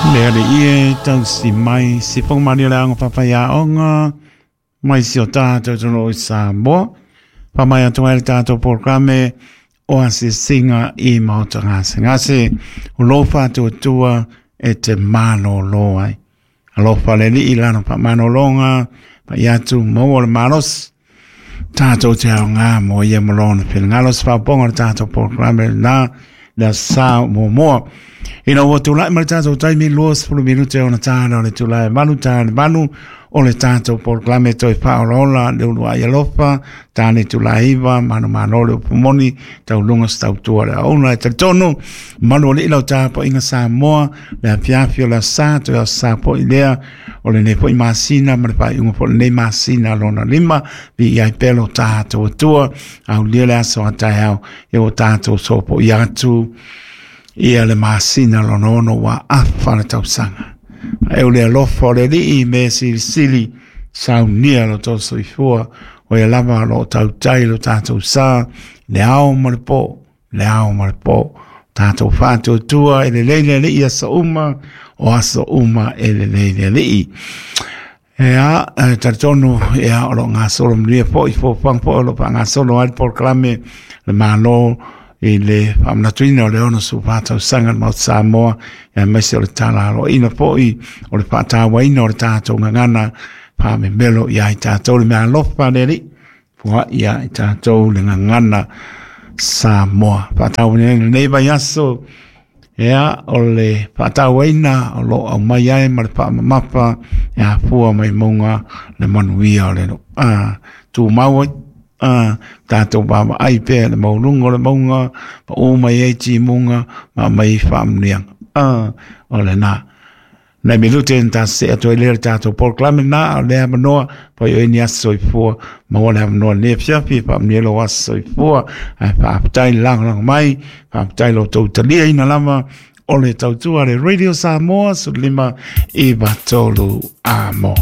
Le alii e tausi mai sifoga malie o le aoga faafaiaoga mai si o tatou atunuu i Samoa. Faamai atu ai le tatou polokalame o asiasiga i maota gasegase o lo faatuatua e te malōlō ai. Alofa le Alii i lana faamalologa pai atu maua le malosi tatou te aoga mo ia ma lona finagalo. Se faaopoopoga o le tatou polokalame lena le aso sa muamua. Ina ua tulai mai le tatou taimi 20 minute ona tala o le itula e 8 ta le 8 o le tatou polokalame toe faaolaola le uluai alofa ta le itula e 9 manumalo le upu moni tauluga se tautua le auna e talitonu malu alii lau tapuaiga Samoa le afiafi o le aso sa toe aso sa foi lea o lenei foi masina ma le faaiuga foi o lenei masina lona 5 viia ai pea lo tatou Atua aulia le aso a taeao ia ua tatou sopoia atu ia le masina lona 6 ua afa le tausaga. E o le alofa o le Alii me silisili saunia lo tou soifua o ia lava o lo o tautai lo tatou sa le ao ma le po, le ao ma le po. Tatou faatuatua e lelei le Alii aso uma, o aso uma e lelei le Alii. Ea, e talitonu, ea, o lo o gasolo manuia foi, fuafuaga foi o lo o faagasolo ai le polokalame le Malo i le faamanatuina o le 64 tausaga o le Maota Samoa, aemaise o le tala aloaina foi o le faatauaina o le tatou gagana faamemelo ia i tatou le meaalofa a le Alii, foai ia i tatou le gagana Samoa. Faatauaina ai lenei vaiaso, ea, o le faatauaina o lo o aumai ai ma le faamamafa e afua mai mauga le manuia o le tumau ai. Tatou vaavaai pea le maualuga o le mauga, pau mai ai timuga ma aumai ai faamanuiaga. O lena. Nai minute na ta see atu ai lea le tatou polokalame lena, a o lea avanoa, pai o ni aso soifua, maua le avanoa lenei afiafi e faamanuia lou aso soifua. Ae faafetai le lagolago mai, faafetai lo outou taliaina lava o le tautua a le Radio Samoa 15 9 3 amo.